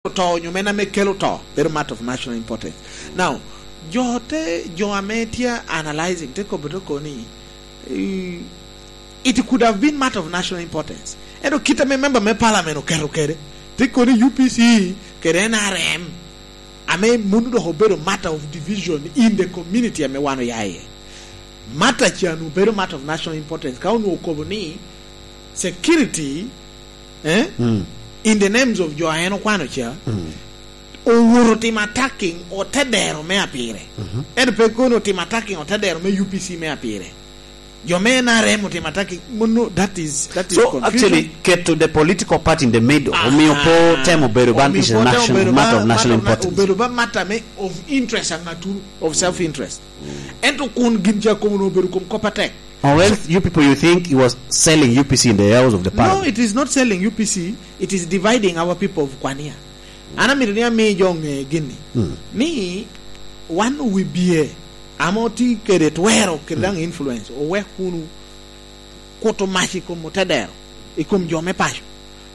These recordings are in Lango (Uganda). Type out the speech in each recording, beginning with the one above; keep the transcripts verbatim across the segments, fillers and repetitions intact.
oto onyo men ame kelo to, bedo matter of national importance. Now, jo te, jo ame tye analyzing, te kobo to koni, eh, it could have been matter of national importance. Ento kit ame member me parliament oketo kede, te koni U P C kede N R M, ame munu dok obedo matter of division in the community ame wan oya iye. Matter can obedo matter of national importance. Ka onwo okobo ni security, eh, Mm. in the names of jo a en okwano ca, Mm. owoto otimo attacking otedero me apire. Mhm. Ento pe kono otimo attacking otedero me U P C me apire. Jo me N R M otimo attacking, mono, that is, that is So, confusion. Actually, keto the political party in the middle, Aha. omiyo po temo bedo ban Omiyo is a po temo national, bedo matter ba, of national matter of na-, importance. obedo ba matter me of interest a ŋaturu, of self-interest. Ento kun gin ca komo obedo kom kop atek. Or else you people, you think he was selling U P C in the house of the No, parliament? It is not selling U P C. It is dividing our people of Kwania. An amito ni ami jo ŋe gini. Mm. Ni wan wi bie, ame otye kede twero, kede Mm. daŋ influence, owek wunu kuto mac i kom otedero, i kom jo me paco.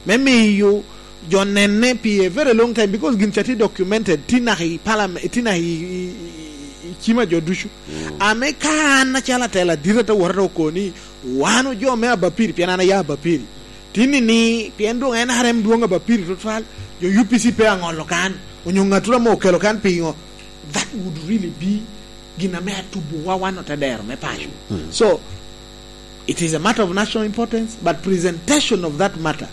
Me miyo jo nenne pi a very long time, because gin ca tye documented, tye naka i parliament, tye naka i, i, i, i cima jo ducu. Mm. Ame ka an acalo atela adit ate wot ate oko ni, wan ojo me Abapiri, pien an aya Abapiri. Tini ni, pien dwong N R M dwong Abapiri tutwal, jo U P C pe aŋolo kan, onyo ŋatura mo okelo kan pingo, that would really be gin ame atubowa wan otedero me paco. Mm. So, it is a matter of national importance, but presentation of that matter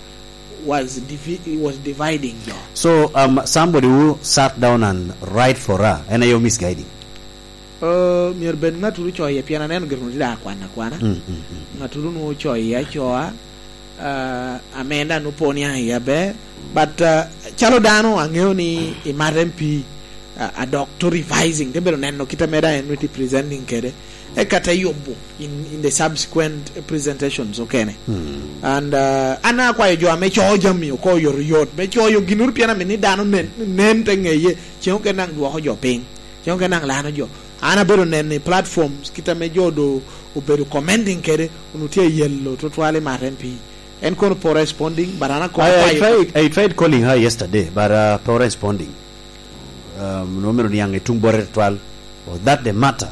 was divi-, was dividing jo. So, um, somebody who sat down and write for her, en aye misguiding? Uh, myero bed ŋaturu coye, pien aneno gire onwoŋo tye daŋ akwan akwana. Mm, mm, mm. Ŋaturu onwoŋo coye acoa, uh, amenda onwoŋo po niaŋ iye aber. But, uh, calo dano aŋeo ni imat M P, uh, a dok to revising, te bedo neno kit ame daŋ en onwoŋo tye presenting kede. Eka te yubo in, in the subsequent presentations okene. Mm. And, uh, an akwayo jo ame coyo jami oko oyotoyot, me coyo ginnoro pien amito ni dano nen, nen te ŋeye, ceŋ okene daŋ dwoko jo piny, ceŋ okene daŋ lano jo. An abedo neno i platforms, kit ame jo do obedo commenting kede, onwoŋo tye ayelo tutwal i mato M P. En kono po responding, but an akobo I, I kwayo tried, I tried calling her yesterday, but, uh, po responding. Um, no mero niaŋ i tuŋ bote tutwal. Was that the matter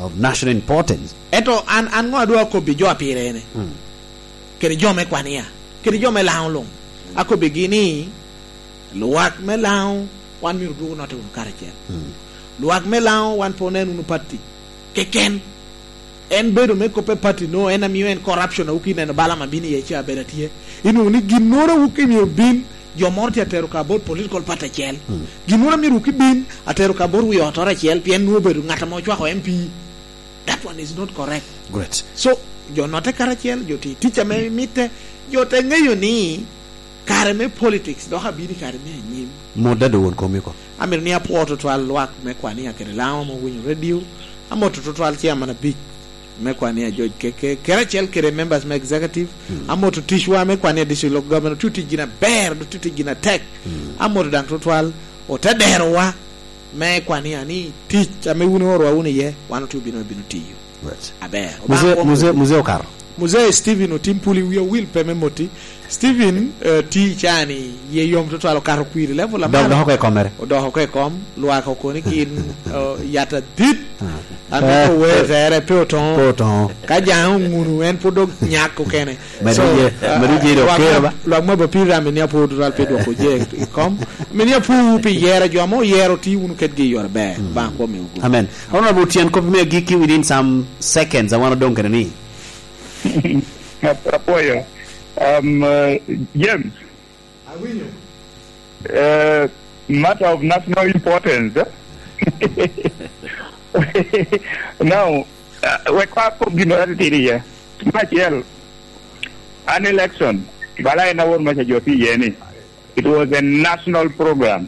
of national importance? Ento an, an ŋo adwa akobbi jo a pire ene? Mm. Kede jo me Kwania, kede jo me Laŋo luŋ. Akobbigi ni, lwak me Laŋo, wan myero dwog onotte wunu karacel. Mm. Lwak me Laŋo, wan pe onen wunu pati keken. En bedo me kop e pati no, en amio en corruption a wuki neno bala ma bino iye ca bedo atye. Inwoŋo ni ginnoro a wuki mio bin, jo moro tye atero ka bot political party acel. Mm. Ginnoro amio wuki bin, atero ka bot wi otoro acel, pien nwoŋo obedo ŋat ame ocwako M P. That one is not correct. Great. So, jo notte karacel, jo ti tic ame mitte, jo te ŋeyo ni kare me politics dok abino i kare me anyim. Mot dado won komi ko. Amito ni apwo tutwal lwak me Kwania kede Laŋo ame owinyo radio. Amoto tutwal chairman abic me Kwania George Keke, kede acel kede members me executive. Mm. Amoto ticwa me Kwania District Local Government, otye tic gin aber, otye tic gin atek. Mm. Amoto daŋ tutwal ote derowa me Kwania ni tic ame wun iorowa wunu iye, wan otye obino, obino tiyo. Right. Aber. Mzee, Obaŋ Mzee, Mzee Okaro. Mzee Stephen Otim Puli, wi owil pe me moti. Stephen, eh, ti cani, ye yom tutwal, okato kwiri level Dok, amalo. Dok oko i komere. Odok oko i kom, lwak okoni kin, eh, yat adit. Ah. An Eh, pe ower eh. Tere, pe otoŋo. Pe otoŋo. Ka jaŋe oŋunu, en pwod dok nyak okene. Medo So, je, eh, medo je dok lwak ker ma, ba. Lwak ma ba pira amini apwod tutwal pe dwoko je i kom. Amini apwod pi yero jo ame oyero ti wunu kedgi i yore ber. Mm. Obaŋ kwo miwu gudo. Amen. Honorable Otieno, kop me agikki within some seconds, awano dong kene ni. Ap-, apwoyo. Um, uh, James. Awinyo. Uh, matter of national importance, eh? Now, uh, we kwa ko gino atitidi ye. Me acel, an election, bala en awor maca jo pi ye ni. It was a national program.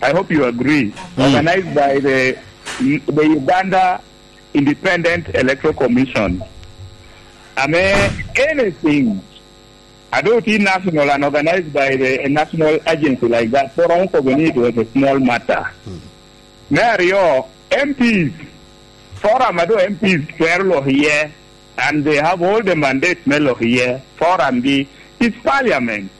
I hope you agree. Mm. Organized by the, the Uganda Independent Electoral Commission. I mean, anything, although it is national and organized by the, a national agency like that, for Uncle Benito, it was a small matter. Mm. Me aryo, M Ps, forum ado M Ps twero lok iye, and they have all the mandates me lok iye. Forum gi is parliament.